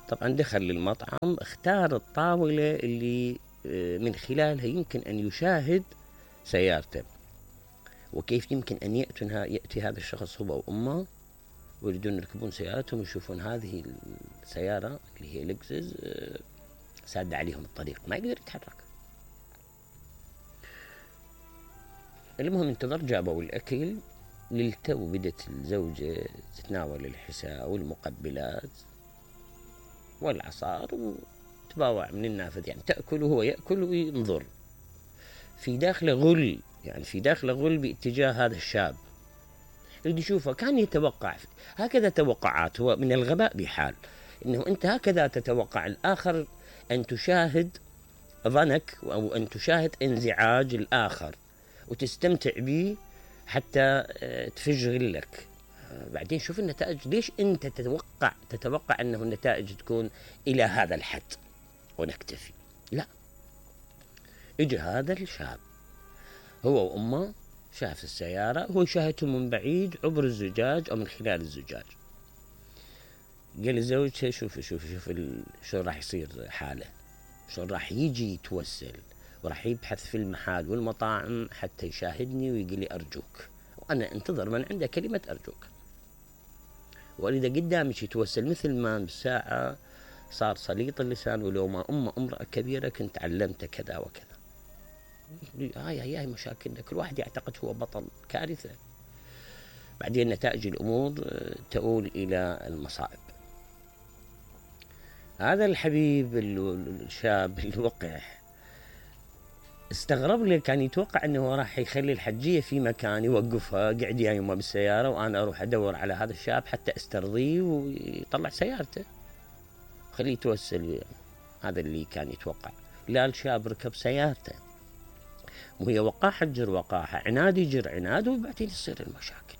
طبعا دخل للمطعم، اختار الطاولة اللي من خلالها يمكن أن يشاهد سيارته، وكيف يمكن أن يأتي هذا الشخص هو وأمه ويريدون يركبون سيارتهم ويشوفون هذه السيارة اللي هي لكزس سادة عليهم الطريق، ما يقدر يتحرك. المهم انتظر، جابوا الأكل، للتو بدت الزوجة تتناول الحساء والمقبلات والعصار وتباوع من النافذ، يعني تأكل وهو يأكل وينظر. في داخله غل، يعني في داخله غل باتجاه هذا الشاب، يريد يشوفه. كان يتوقع هكذا توقعات، هو من الغباء بحال انه انت هكذا تتوقع الاخر ان تشاهد ظنك او ان تشاهد انزعاج الاخر وتستمتع به حتى تفج غلك. بعدين شوف النتائج. ليش انت تتوقع انه النتائج تكون الى هذا الحد ونكتفي؟ لا، اجى هذا الشاب هو وامه، شاف السيارة، هو يشاهدهم من بعيد عبر الزجاج او من خلال الزجاج. قال لزوجته شوف شو راح يصير حاله، شو راح يجي يتوسل وراح يبحث في المحال والمطاعم حتى يشاهدني ويقول لي أرجوك، وأنا انتظر من عنده كلمة أرجوك، وإذا قدامك يتوسل مثل ما بالساعة صار سليط اللسان، ولو ما امرأة كبيرة كنت علمت كذا وكذا. هاي مشاكلنا، كل واحد يعتقد هو بطل، كارثة. بعدين نتائج الأمور تؤول إلى المصائب. هذا الحبيب الشاب الوقح استغرب لي، كان يتوقع أنه راح يخلي الحجية في مكان يوقفها، قاعد يا يمه بالسيارة وأنا أروح أدور على هذا الشاب حتى استرضيه ويطلع سيارته خليه يتوسل. هذا اللي كان يتوقع. لا، الشاب ركب سيارته وهي وقاحة تجر وقاحة، عناد يجر عناد، وبعدين تصير المشاكل.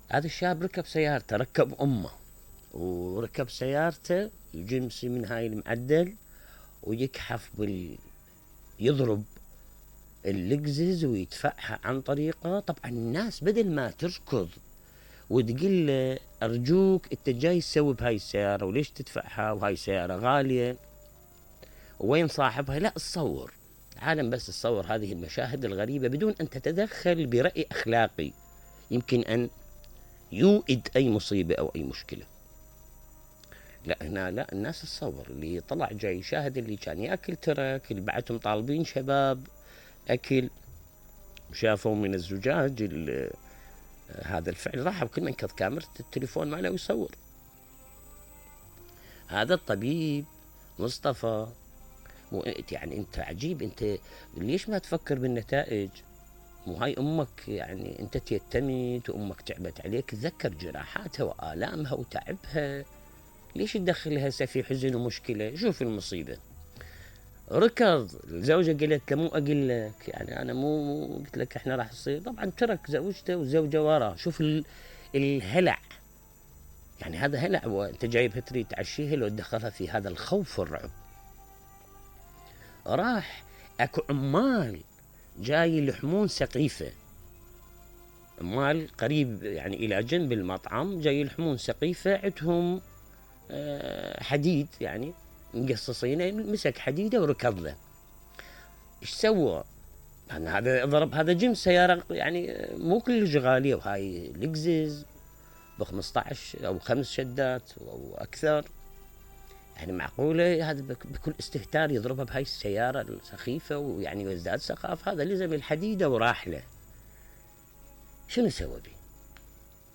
هذا الشاب ركب سيارته، ركب أمه وركب سيارته، يجمسي من هاي المعدل ويكحف يضرب اللكزس ويدفعها عن طريقه. طبعا الناس بدل ما تركض وتقول له أرجوك أنت جاي تسوي بهاي السيارة وليش تدفعها وهاي السيارة غالية وين صاحبها، لا، تصور عالم بس تصور هذه المشاهد الغريبة بدون أن تتدخل برأي أخلاقي يمكن أن يوئد أي مصيبة أو أي مشكلة. لا، هنا لا، الناس تصور اللي طلع جاي يشاهد اللي كان يأكل ترك، اللي بعدهم طالبين شباب أكل وشافوا من الزجاج هذا الفعل، راح بكل من كذ كاميرا التليفون ماله ويصور. هذا الطبيب مصطفى يعني انت عجيب، انت ليش ما تفكر بالنتائج؟ مو هاي امك يعني انت تيتمت وامك تعبت عليك، تذكر جراحاتها والامها وتعبها، ليش تدخلها هسه في حزن ومشكله؟ شوف المصيبه. ركض، الزوجه قالت له مو اقول لك، يعني انا مو قلت لك احنا راح نصير. طبعا ترك زوجته وزوجه وراه. شوف الهلع، يعني هذا هلع، وانت جايبها تريد تعشيها لو تدخلها في هذا الخوف والرعب. راح اكو عمال جاي يلحمون سقيفه، عمال قريب يعني الى جنب المطعم جاي يلحمون سقيفه، عندهم حديد يعني مقصصينه، مسك حديده وركض له. ايش سوى؟ هذا ضرب، هذا جنس سياره يعني مو كلش غاليه، وهاي لكزس ب 15 او 5 شدات او اكثر، يعني معقوله هذا بكل استهتار يضربها بهاي السياره السخيفه ويعني ويزداد سخاف؟ هذا لزم الحديده وراح له. شنو سوى به؟